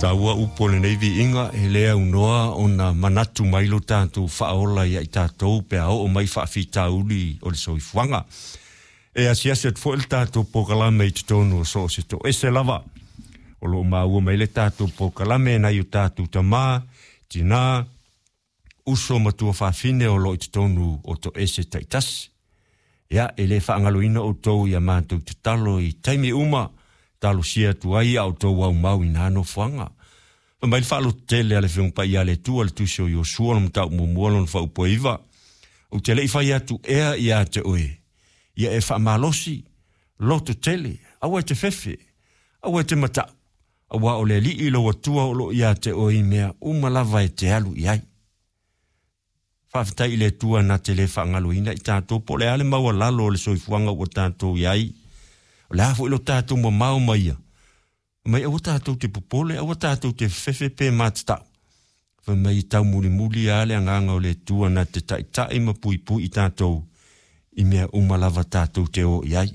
Taua upu o lenei viiga e le aunoa ona manatu mai lo tatou faaola ia i tatou pe a oo mai faafitauli o le soifuaga. E asiasi atu foi le tatou polokalame i totonu o so o se toese lava. O lo o maua mai le tatou polokalame nai o tatou tamā, tinā, uso ma tuafafine o lo o i totonu o toese taitasi. Ia, e le faagaloina outou i a matou tatalo i taimi uma, talosia atu ai a outou aumau i na nofoaga. Fai mai le faalototele a le Afioga Paia a le Atua le tusi o Iosua le mataupu muamua lona faaupu e 9, Ou te le i fai atu ea ia te oe, ia e faamalosi, lototele, aua e te fefe, aua e te matau, auā o le Alii lou Atua o lo o ia te oe i mea uma lava e te alu i ai. Faafetai i le Atua na te le faagaloina i tatou po o le a le maualalo o le soifuaga ua tatou i ai. O le a foi lo tatou mamao ma ia, mai aua tatou te popole, aua tatou te fefe pe matatau. Fai mai e taumulimuli lava le agaga o le Atua na te taitai ma puipui i tatou i mea uma lava tatou te o i ai.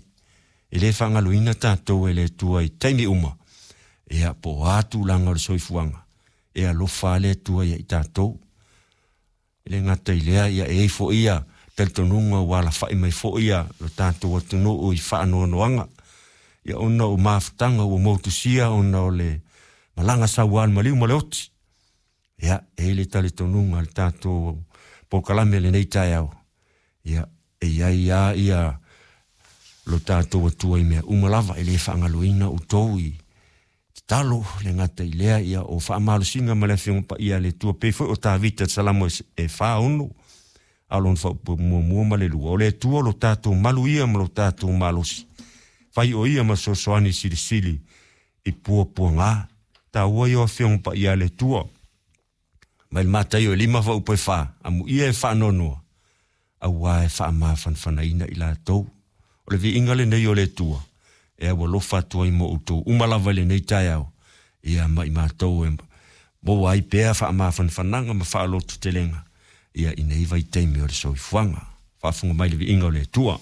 E le faagaloina tatou e le Atua i taimi uma, ia po o a tulaga o le soifuaga, e alofa lava le Atua ia i tatou. E le gata i lea, ia e i ai foi ia talitonuga ua alafai mai foi ia lo tatou atunuu i faanoanoaga, ia ona o mafutaga ua motusia ona o le malaga saua a le maliu ma le oti. Ia, e i ai le talitonuga o le tatou polokalame i lenei taeao, ia, e i ai lava ia lo tatou Atua i mea uma lava, e le faagaloina outou i tatalo, le gata i lea, ia, o faamalosiga ma le Afioga Paia a le Atua, pei foi o Tavita i le Salamo e 46, a o lona faaupu muamua ma le lua, o le Atua lo tatou malu ia ma lo tatou malosi, fai o ia ma fesoasoani silisili i puapuaga. Taua ia o Afioga Paia a le Atua. Mai le Mataio e 5 faaupu e 4, amuia e faanoanoa, auā e faamafanafanaina i latou. O le viiga lenei o le Atua, e aualofa atu ai mo outou uma lava i lenei taeao, ia ma i matou e maua ai pea faamafanafanaga ma faalototelega, ia i nei vaitaimi o le soifuaga. Faafofoga mai le viiga o le Atua.